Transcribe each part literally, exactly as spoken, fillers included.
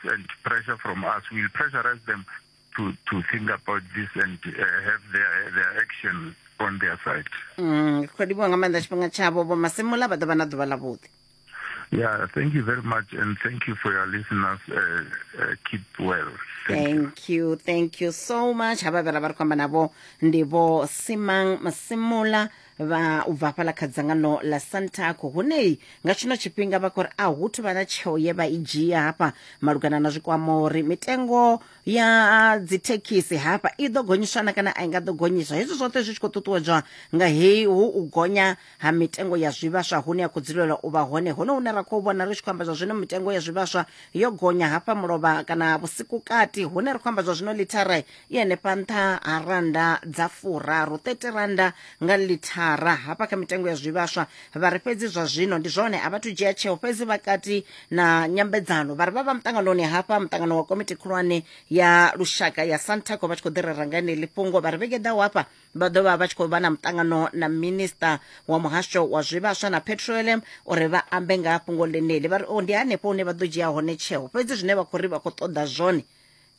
and pressure from us will pressurize them to, to think about this and uh, have their, their action on their side. Mm, khou livhuwa nga maanḓa tshifhinga tshavho Vho Masemola, vha ḓo vha na ḓuvha ḽa vhuḓi. Yeah, thank you very much, and thank you for your listeners. Uh, uh, keep well. Thank, thank you. you, thank you so much. Havha vhe ra vha ri khou amba navho ndi Vho Simang Masemola vha u bva hafhaḽa kha dzangano ḽa Santaco, hune nga tshino tshifhinga vha khou ri a hu thu vha na tsheo ye vha i dzhia hafha malugana na zwikwama uri mitengo ya dzithekhisi hafha i ḓo gonyiswa na kana a i nga ḓo gonyiswa. Hezwi zwoṱhe zwi tshi khou ṱuṱuwedzwa nga heyi hu u gonya ha mitengo ya zwivhaswa hune ya khou dzulela u vha hone, hone hune ra khou vhona ri tshi khou amba zwa zwino mitengo ya zwivhaswa yo gonya hafha mulovha kana vhusiku kati, hune ri khou amba zwa zwino lithara i henefha nṱha ha randa dza furaru thirty randa nga lithara hafha kha mitengo ya zwivhaswa. Vha ri fhedzi zwa zwino ndi zwone a vhathu dzhia tsheo, fhedzi vhakati na nyambedzano vha ri vha vha muṱanganoni hafha muṱangano wa komiti khulwane ya lushaka ya Santaco vha tshi khou ḓi rera nga ḽeneḽi fhungo. Vha ri vhege ḓaho hafha vha ḓo vha vha tshi khou vha na muṱangano na minista wa muhasho wa zwivhaswa na petroleum uri vha ambe nga fhungo ḽeneḽi. Vha ri o ndi hanefho hune vha ḓo dzhia hone tsheo, fhedzi zwine vha khou ri vha khou ṱoḓa zwone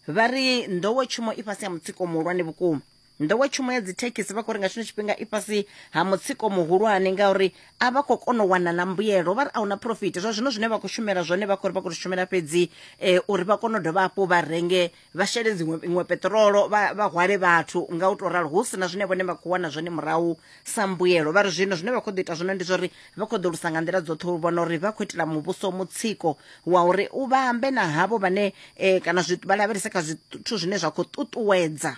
vha ri nḓowetshumo i fhasi ha mutsiko muhulwane vhukuma. Nḓowetshumo ya dzithekhisi vha khou ri nga tshino tshifhinga i fhasi ha mutsiko muhulwane ngauri a vha khou kona u wana na mbuyelo, vha ri a huna profit. Zwa zwino zwine vha khou shumela zwone vha khou ri vha khou shumela fhedzi eh, uri vha kone u dovha hafhu vha renge vha shele dziṅwe iṅwe peṱirolo vha vha hwale vhathu nga u tou ralo, hu si na zwine vhone vha khou wana zwone murahu sa mbuyelo. Vha ri zwino zwine vha khou ḓo ita zwone ndi zwa uri vha khou ḓo lusa nga nḓila dzoṱhe u vhona uri vha khou itela muvhuso mutsiko wa uri u vha ambe na havho vhane eh, kana zwi vha lavhelese kha zwithu zwine zwa khou ṱuṱuwedza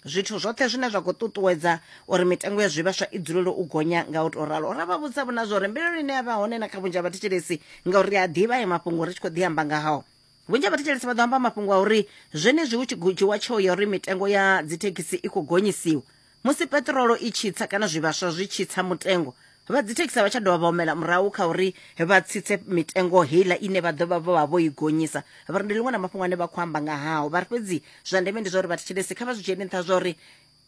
zwithu zwoṱhe zwine zwa khou ṱuṱuwedza uri mitengo ya zwivhaswa i dzulele u gonya nga u tou ralo. Ra vha vhudza vhona zwa uri mbilaelo ine ya vha hone na kha vhunzhi ha vhathetshelesi, ngauri ri a ḓivha ayo mafhungo ri tshi khou ḓi amba nga hao, vhunzhi ha vhathetshelesi vha ḓo amba mafhungo a uri zwenezwi hu tshi dzhiwa tsheo ya uri mitengo ya dzithekhisi i khou gonyisiwa musi peṱirolo i tshi tsa kana zwivhaswa zwi tshi tsa mutengo, vha dzithekhisi a vha tsha dovha vha humela murahu kha uri vha tsitse mitengo heiḽa ine vha ḓo vha vho vha vho i gonyisa. Vha ri ndi ḽiṅwe ḽa mafhungo ane vha khou amba nga hao. Vha ri fhedzi zwa ndeme ndi zwa uri vhathetshelesi kha vha zwi dzhiele nṱha zwa uri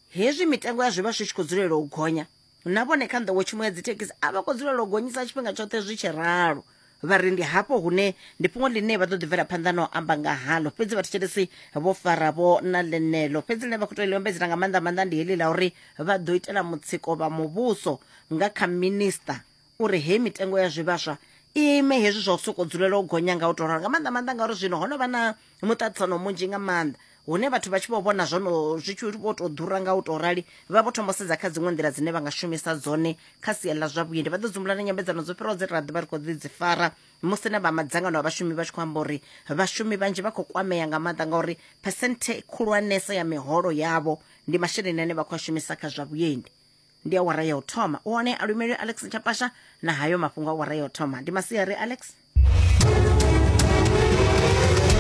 hezwi mitengo ya zwivhaswa i tshi khou dzulela u gonya, na vhone kha nḓowetshumo ya dzithekhisi a vha khou dzulela u gonyisa tshifhinga tshoṱhe zwi tshi ralo. Vha ri ndi hafho hune ndi fhungo ḽine vha ḓo ḓi bvela phanḓa na u amba nga halo, fhedzi vhathetshelesi vho faravho na ḽeneḽo. Fhedzi ḽine vha khou tea u ḽi ombedzela nga maanḓa maanḓa ndi heḽi ḽa uri vha ḓo itela mutsiko vha muvhuso nga kha minista uri hei mitengo ya zwivhaswa i ime hezwi zwa u sokou dzulela u gonya nga u tou ralo, nga maanḓa maanḓa ngauri zwino ho no vha na muṱaṱisano munzhi nga maanḓa hune vhathu vha tshi vho vhona zwono zwi tshi vho tou ḓura nga u tou rali, vha vho thoma u sedza kha dziṅwe nḓila dzine vha nga shumisa dzone kha sia ḽa zwa vhuendi. Vha ḓo dzumbula na nyambedzano dzo fhiraho dze ra ḓi vha ri khou ḓi dzi fara musi na vha madzangano a vhashumi vha tshi khou amba uri vhashumi vhanzhi vha khou kwamea nga maanḓa ngauri phesenthe khulwanesa ya miholo yavho ndi masheleni ane vha khou a shumisa kha zwa vhuendi. Ndi awara ya u thoma. U hone Alumeli Alex Nchapasha na hayo mafhungo awara ya u thoma. Ndi masiari Alex.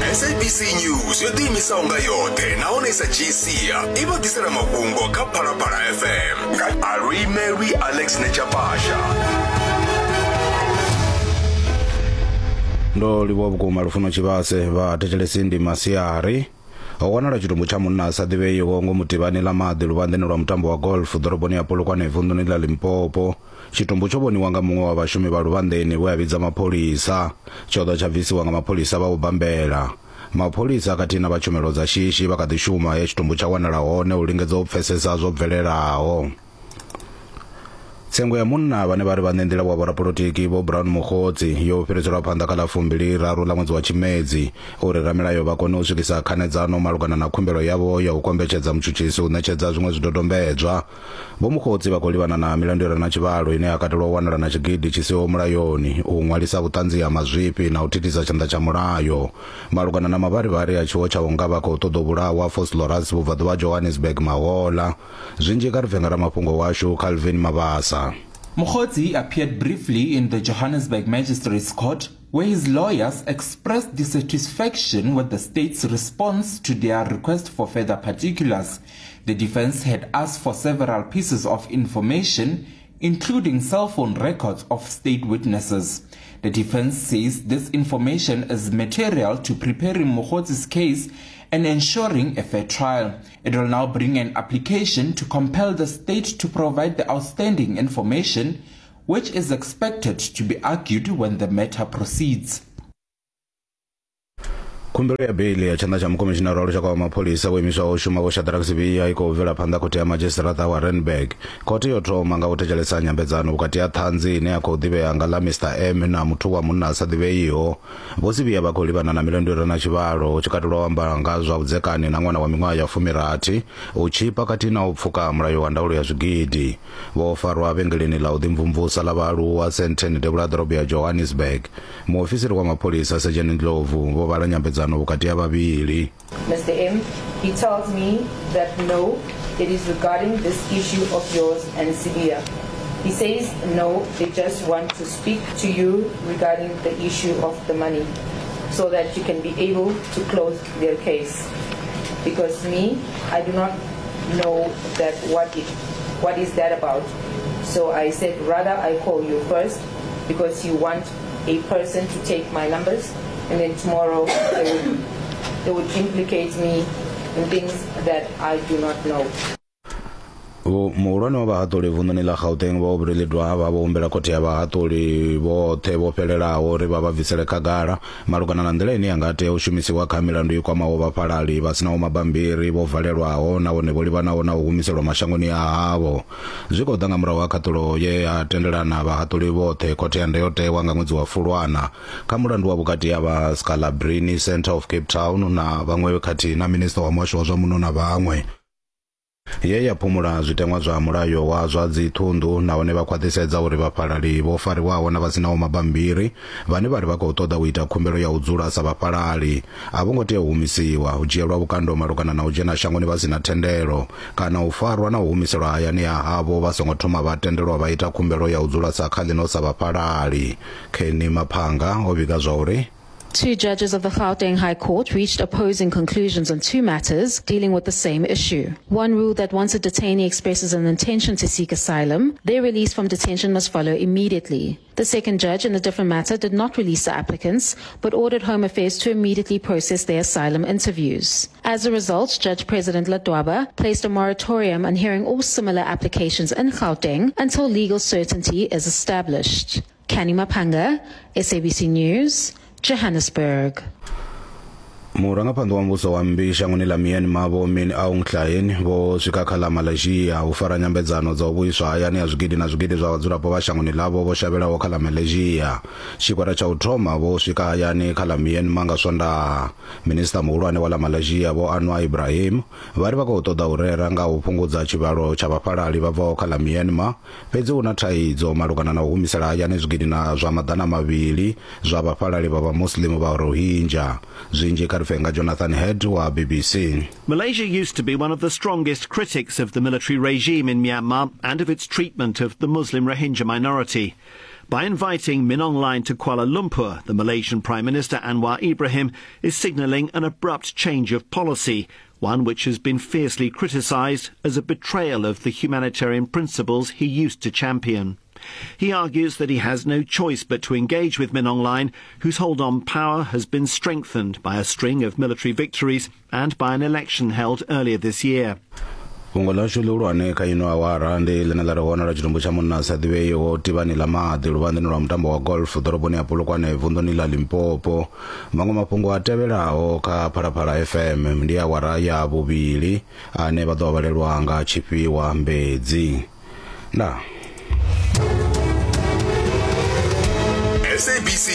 S A B C News yo ḓiimisaho nga yoṱhe nahone sa dzhii sia i vha ḓisela mafhungo kha Phalaphala F M nga Aluimelwi Alex Nechapasha. Ndo livhuwa vhukuma Lufuno Tshivhase. Vha thetshelesi ndi masiari. Ho wanala tshitumbu tsha munna a sa ḓivheiho ngomu tivhani ḽa maḓi luvhanḓeni lwa mutambo wa golf ḓoroboni ya Polokwane vunḓuni ḽa Limpopo. Tshitumbu tsho vhoniwa nga muṅwe wa vhashumi vha luvhanḓeni we a vhidza mapholisa. Tsho ḓo tsha bvisiwa nga mapholisa vha u bambela. Mapholisa khathihi na vha tshumelo dza shishi vha kha ḓi shuma he tshitumbu tsha wanala hone u lingedza u pfesesa zwo bvelelaho. Tsengo ya munna vhane vha ri vhaṋe nḓila wa vhorapolotiki Vho Brown Mogotsi yo fhiriselwa phanḓa kha ḽa fumbili raru ḽa ṅwedzi wa Tshimedzi uri ramilayo vha kone u swikisa khanedzano malugana na khumbelo yavho ya u kombetshedza mutshutshisi u ṋetshedza zwiṅwe zwidodombedzwa. Vho Mogotsi vha khou livhana na milandu i re na tshivhalo ine ya katelwa u wanala na tshigidi tshi siho mulayoni, u ṅwalisa vhuṱanzi ha mazwifhi na u thithisa tshanḓa tsha mulayo. Malugana na mavharivhari a tshiwo tsha u nga vha khou ṱoḓa u vhulawa Vosloorus vhubvaḓuvha ha Johannesburg mahola. Zwinzhi kha ri bve nga ramafhungo washu Calvin Mabasa. Mogotsi appeared briefly in the Johannesburg Magistrates Court, where his lawyers expressed dissatisfaction with the state's response to their request for further particulars. The defense had asked for several pieces of information, including cell phone records of state witnesses. The defense says this information is material to preparing Mogotsi's case and ensuring a fair trial. It will now bring an application to compel the state to provide the outstanding information, which is expected to be argued when the matter proceeds. Khumbelo ya beili ya tshanḓa tsha mukomishinara wa lushaka wa mapholisa wo imiswaho u shuma Vho Shadrack Sibiya i khou bvela phanḓa khothe ya madzhisiṱiraṱa wa Randburg. Khothe yo thoma nga u thetshelesa nyambedzano vhukati ha ṱhanzi ine ya khou ḓivhea nga ḽa Mister M na muthu wa munna a sa ḓivheiho. Vho Sibiya vha khou livhana na milandu i re na tshivhalo hu tshi katelwa u amba nga zwa vhudzekani na ṅwana wa miṅwaha ya fumirathi, u tshipa khathihi na u pfuka mulayo wa ndaulo ya zwigidi. Vho farwa vhengeleni ḽa u ḓimvumvusa ḽa vhaaluwa Sandton devhula ha ḓorobo ya Johannesburg. Muofisiri wa mapholisa Sergeant Ndlovu vho vhala nyambedzano vhukati ha vhavhili. Mister M, he tells me that no, it is regarding this issue of yours and Sibiya. He says no, they just want to speak to you regarding the issue of the money so that you can be able to close their case. Because me, I do not know that what it, what is that about. So I said rather I call you first because you want a person to take my numbers and then tomorrow they would, they would implicate me in things that I do not know. Muhulwane wa vhahaṱuli vunḓuni ḽa Gauteng vho Aubrey Ledwaba vho humbela khothe ya vhahaṱuli vhoṱhe vho fhelelaho uri vha vha bvisele khagala malugana na nḓila ine ya nga tea u shumisiwa kha milandu i kwamaho vhafhalali vha sinaho mabambiri vho valelwaho nahone vho livhanaho na u humiselwa mashangoni a havho. Zwi khou ḓa nga murahu ha khaṱulo ye ya tendelana vhahaṱuli vhoṱhe khothe ya ndayotewa nga ṅwedzi wa Fulwana kha mulandu wa vhukati ha vha Scalabrini Centre of Cape Town na vhaṅwe khathihi na minisiṱa wa muhasho wa zwa muno na vhaṅwe, ye ya phumula zwiteṅwa zwa mulayo wa zwa dziṱhunḓu nahone vha khwaṱhisedza uri vhafhalali vho fariwaho na vha sinaho mabambiri vhane vha ri vha khou ṱoḓa u ita khumbelo ya u dzula sa vhafhalali a vho ngo tea u humisiwa, u dzhielwa vhukando malugana na u dzhena shangoni vha sina thendelo kana u farwa na u humiselwa hayani ha havho vha songo thoma vha tendelwa vha ita khumbelo ya u dzula sa kha ḽino sa vhafhalali. Kenny Maphanga o vhiga zwa uri Two judges of the Gauteng High Court reached opposing conclusions on two matters dealing with the same issue. One ruled that once a detainee expresses an intention to seek asylum, their release from detention must follow immediately. The second judge in a different matter did not release the applicants, but ordered Home Affairs to immediately process their asylum interviews. As a result, Judge President Ledwaba placed a moratorium on hearing all similar applications in Gauteng until legal certainty is established. Kani Mapanga, S A B C News, Johannesburg. Murangaphanḓa wa muvhuso wa mmbi shangoni ḽa Myanmar Vho Min Aung Hlaing vho swika kha ḽa Malaysia u fara nyambedzano dza u vhuiswa hayani ha zwigidi na zwigidi zwa vhadzulapo vha shangoni ḽavho vho shavhelaho kha ḽa Malaysia. Tshigwada tsha u thoma vho swika hayani kha ḽa Myanmar nga Swondaha. Minisiṱa muhulwane wa ḽa Malaysia Vho Anwar Ibrahim vha ri vha khou ṱoḓa u rera nga u fhungudza tshivhalo tsha vhafhalali vha bvaho kha ḽa Myanmar, fhedzi hu na thaidzo malugana na u humisela hayani zwigidi na zwa maḓana mavhili zwa vhafhalali vha vhamuslimu vha Rohingya. Zwinzhi kha Fenga Jonathan Head wa B B C. Malaysia used to be one of the strongest critics of the military regime in Myanmar and of its treatment of the Muslim Rohingya minority. By inviting Min Aung Hlaing to Kuala Lumpur, the Malaysian Prime Minister Anwar Ibrahim is signalling an abrupt change of policy, one which has been fiercely criticised as a betrayal of the humanitarian principles he used to champion. He argues that he has no choice but to engage with Min Aung Hlaing, whose hold on power has been strengthened by a string of military victories and by an election held earlier this year. Fhungo ḽashu ḽihulwane kha ino awara ndi ḽine ḽa ri wanala tshitumbu tsha munna a sa ḓivheiho tivhani ḽa maḓi luvhanḓeni lwa mutambo wa golf ḓoroboni ya Polokwane vunḓuni ḽa Limpopo. Maṅwe mafhungo a tevhelaho kha Phalaphala F M ndi awara ya vhuvhili ane vha ḓo vhalelwa nga Tshifhiwa Mbedzi. Ndaa. S A B C